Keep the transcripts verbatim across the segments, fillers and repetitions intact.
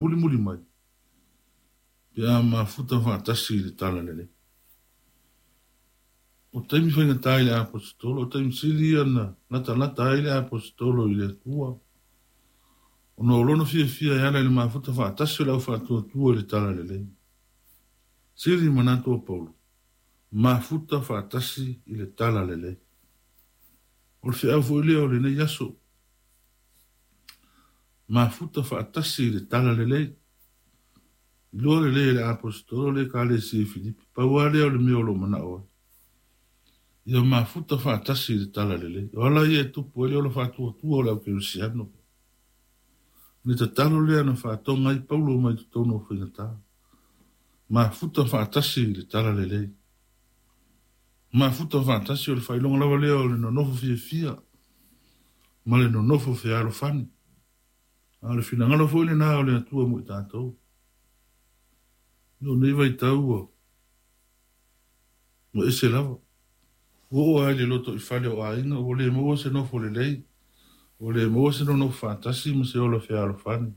Mulimuli mai, pe a mafuta faatasi i le Talalelei. O taimi faigata i le Aposetolo, o taimi sili ia na latalata ai le Aposetolo i le Atua, ona o lona fiafia e ala i le mafuta faatasi o le au faatuatua i le Talalelei. Sili manatu o Paulo, mafuta faatasi i le Talalelei. O le feau foi lea o lenei aso, mafuta faatasi i le Talalelei. Iloa lelei e le Aposetolo le Ekalesia i Filipi, pau lava lea o le mea o lo o manao ai, ia mafuta faatasi i le Talalelei. O ala ia e tupu ai le ola faatuatua o le au kerisiano. Le tatalo lea na faatoga ai Paulo mai totonu o faigata, mafuta faatasi i le Talalelei. Mafuta faatasi o le faailoga lava lea o le nonofo fiafia ma le nonofo fealofani. A o le finagalo foi lena o le Atua mo i tatou. O nei vaitau ua ua ese lava. Ua oo lava i le lotoifale o aiga ua le maua se nofo lelei, ua le maua se nonofo faatasi ma se ola fealofani.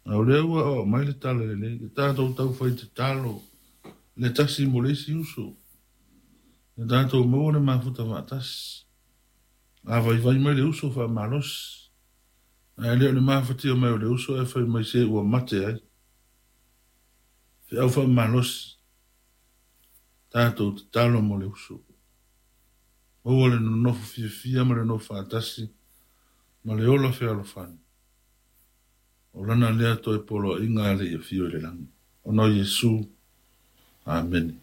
A o lea ua aoao mai le Talalelei, ia tatou taufai tatalo le tasi mo le isi uso, ia tatou maua le mafuta faatasi. A vaivai mai le uso faamalosi, ae le o le mafatia mai o le uso ae fai mai se ua mate ai. Feau faamalosi, tatou tatalo mo le uso. Maua le nonofo fiafia ma le nonofo faatasi ma le ola fealofani. O lana lea toe poloaiga a le Afio i le lagi. Ona o Iesu. Amene.